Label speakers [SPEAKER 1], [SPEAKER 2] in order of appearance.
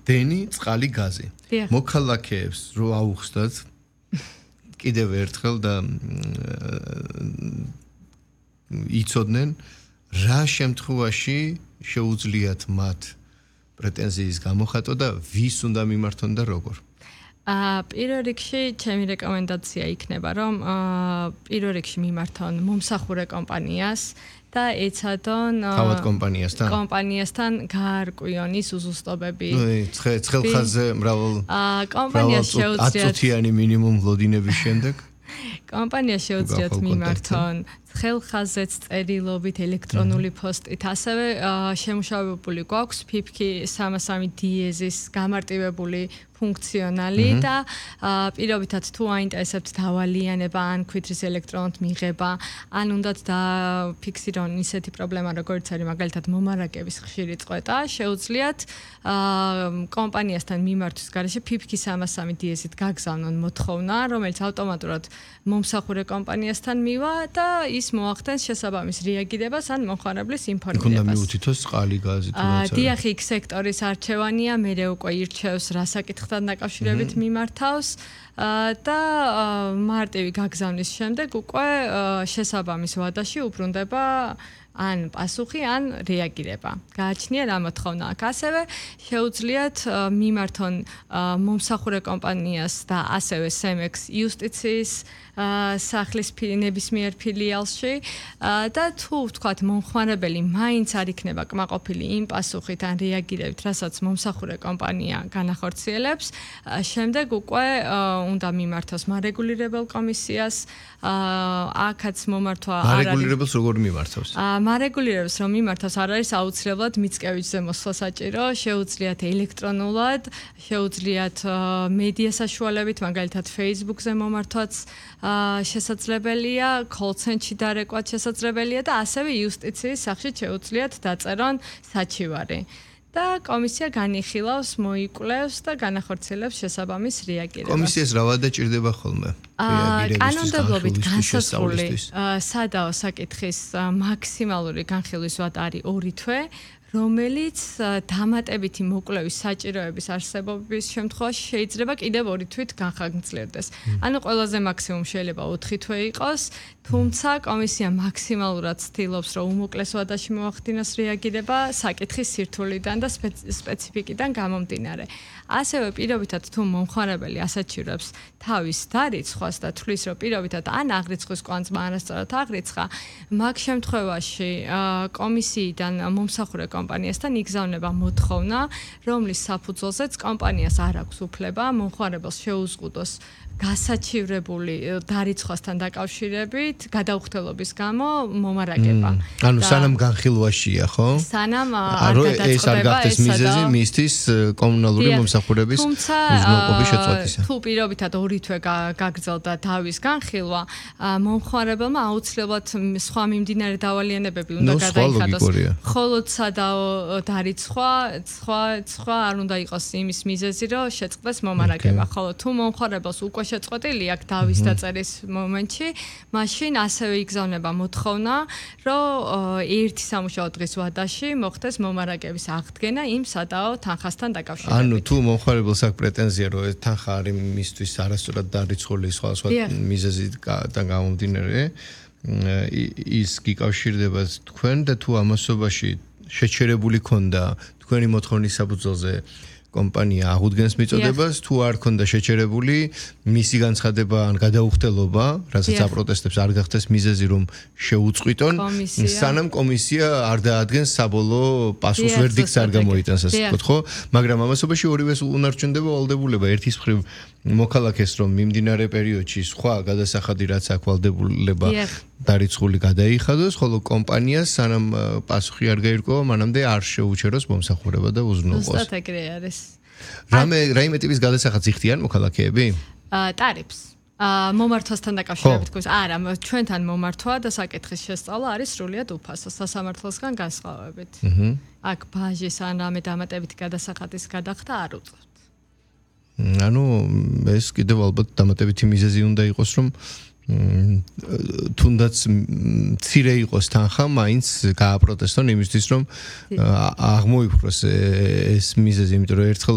[SPEAKER 1] დენი, წყალი, გაზი. მოქალაქეებს რო აუხსნათ კიდევ ერთხელ და იცოდნენ რა შემთხვევაში შეუძლიათ მათ პრეტენზიის გამოხატვა და ვის უნდა მიმართონ და როგორ.
[SPEAKER 2] პირველ რიგში ჩემი რეკომენდაცია იქნება, რომ პირველ რიგში მიმართონ მომსახურე კომპანიას და ეცადონ
[SPEAKER 1] თავად
[SPEAKER 2] კომპანიასთან გაარკვიონ ის უზუსტობები.
[SPEAKER 1] ცხელხაზზე მრავალ
[SPEAKER 2] კომპანიას შეუძლიათ
[SPEAKER 1] 10 წუთიანი მინიმუმ ლოდინების შემდეგ
[SPEAKER 2] კომპანიას შეუძლიათ მიმართონ ცხელხაზეც წერილობით ელექტრონული პოსტით, ასევე შემუშავებული გვაქვს ფიფქი 303 დიეზის გამარტივებული ფუნქციონალი და პირობითად თუ აინტერესებთ დავალიანება ან ქვითრის ელექტრონით მიღება, ან უნდათ დაფიქსირონ ისეთი პრობლემა, როგორც არის მაგალითად მომარაგების ხშირი წყვეტა, შეუძლიათ კომპანიასთან მიმართვის გარეშე ფიფქი 303 დიეზით გაგზავნონ მოთხოვნა, რომელიც ავტომატურად მომსახურე კომპანიასთან მივა და ის მოახდენს შესაბამის რეაგირებას ან მომხმარებლის ინფორმირებას.
[SPEAKER 1] უნდა მიუთითოს წყალი, გაზი თუ რაც არის.
[SPEAKER 2] დიახ, იქ სექტორის არჩევანია, მერე უკვე ირჩევს რა საკითხთან დაკავშირებით მიმართავს და მარტივი გაგზავნის შემდეგ უკვე შესაბამის ვადაში უბრუნდება ან პასუხი, ან რეაგირება. გააჩნია რა მოთხოვნა აქ. ასევე შეუძლიათ მიმართონ მომსახურე კომპანიას და ასევე SEMEX იუსტიციის სახლის ნებისმიერ ფილიალში და თუ ვთქვათ მომხმარებელი მაინც არ იქნება კმაყოფილი იმ პასუხით ან რეაგირებით, რასაც მომსახურე კომპანია განახორციელებს, შემდეგ უკვე უნდა მიმართოს მარეგულირებელ კომისიას. აქაც მომართვა არ არის.
[SPEAKER 1] მარეგულირებელს როგორ მიმართავს?
[SPEAKER 2] მარეგულირებს რომ მიმართავს არ არის აუცილებლად მიწკევიჩზე მოსვლა საჭირო, შეუძლიათ ელექტრონულად, შეუძლიათ მედია საშუალებით, მაგალითად Facebook-ზე მომართვაც შესაძლებელია, call-centre-ში დარეკვაც შესაძლებელია და ასევე იუსტიციის სახში შეუძლიათ დაწერონ საჩივარი. და კომისია განიხილავს, მოიკვლევს და განახორციელებს შესაბამის რეაგირებას.
[SPEAKER 1] კომისიას რა ვადა ჭირდება ხოლმე?
[SPEAKER 2] კანონმდებლობით განსაზღვრული სადაო საკითხის მაქსიმალური განხილვის ვადა არის 2 თვე, რომელიც დამატებითი მოკვლევის საჭიროების არსებობის შემთხვევაში შეიძლება კიდევ 2 თვით განხორციელდეს. ანუ ყველაზე მაქსიმუმ შეიძლება 4 თვე იყოს, თუმცა კომისია მაქსიმალურად ცდილობს, რომ უმოკლეს ვადაში მოახდინოს რეაგირება საკითხის სირთულიდან და სპეციფიკიდან გამომდინარე. ასევე პირობითად თუ მომხმარებელი ასაჩივრებს თავის დარიცხვას და თვლის, რომ პირობითად ან აღრიცხვის კვანძმა არასწორად აღრიცხა, მაგ შემთხვევაში კომისიიდან მომსახურე კომპანიასთან იგზავნება მოთხოვნა, რომლის საფუძველზეც კომპანიას არ აქვს უფლება მომხმარებელს შეუზღუდოს გასაჩივრებული დარიცხვასთან დაკავშირებით გადაუხდელობის გამო მომარაგება.
[SPEAKER 1] ანუ სანამ განხილვაშია, ხო?
[SPEAKER 2] სანამ არ გადაწყდება
[SPEAKER 1] ეს არ გახდეს მიზეზი მისთვის კომუნალური მომსახურების უზრუნველყოფის შეწყვეტისა.
[SPEAKER 2] თუ პირობითად 2 თვე გაგრძელდა დავის განხილვა, მომხმარებელმა აუცილებლად სხვა მიმდინარე დავალიანებები უნდა გადაიხადოს. მხოლოდ სადაო დარიცხვა, სხვა არ უნდა იყოს იმის მიზეზი, რომ შეწყდეს მომარაგება. ხოლო თუ მომხმარებელს უკვე შეწყვეტილი აქვს დავის დაწერის მომენტში, მაშინ ასევე იგზავნება მოთხოვნა, რომ 1 სამუშაო დღის ვადაში მოხდეს მომარაგების აღდგენა იმ სადაო თანხასთან დაკავშირებით.
[SPEAKER 1] ანუ თუ მომხმარებელს აქვს პრეტენზია, რომ ეს თანხა არის მისთვის არასწორად დარიცხული სხვა მიზეზიდან გამომდინარე, ის გიკავშირდება თქვენ და თუ ამასობაში შეჩერებული ქონდა თქვენი მოთხოვნის საფუძველზე კომპანია აღუდგენს მიწოდებას, თუ არ ქონდა შეჩერებული, მისი განცხადება ან გადაუხდელობა, რასაც აპროტესტებს არ გახდეს მიზეზი, რომ შეუწყვიტონ, სანამ კომისია არ დაადგენს საბოლოო პასუხს, ვერდიქტს არ გამოიტანს, ასე ვთქვათ, ხო? მაგრამ ამასობაში ორივეს უნარჩუნდება ვალდებულება, ერთის მხრივ მოქალაქეს, რომ მიმდინარე პერიოდში სხვა გადასახადი რაც აქვს ვალდებულება დარიცხული გადაიხადოს, ხოლო კომპანიას სანამ პასუხი არ გაირკვევა, მანამდე არ შეუჩეროს მომსახურება და უზრუნველყოს.
[SPEAKER 2] ზუსტად ეგრე არის.
[SPEAKER 1] რაიმე ტიპის გადასახადს იხდიან მოქალაქეები?
[SPEAKER 2] ტარიფს. მომართვასთან დაკავშირებით გვქოს. არა, ჩვენთან მომართვა და საკითხის შესწავლა არის სრულიად უფასო სასამართლოსგან განსხვავებით. აქ ბაჟის ან რამე დამატებითი გადასახადის გადახდა არ უწევთ.
[SPEAKER 1] ანუ ეს კიდევ ალბათ დამატებითი მიზეზი უნდა იყოს, რომ თუნდაც მცირე იყოს თანხა, მაინც გააპროტესტონ იმისთვის, რომ აღმოიფხვროს ეს მიზეზი, იმიტომ რომ ერთხელ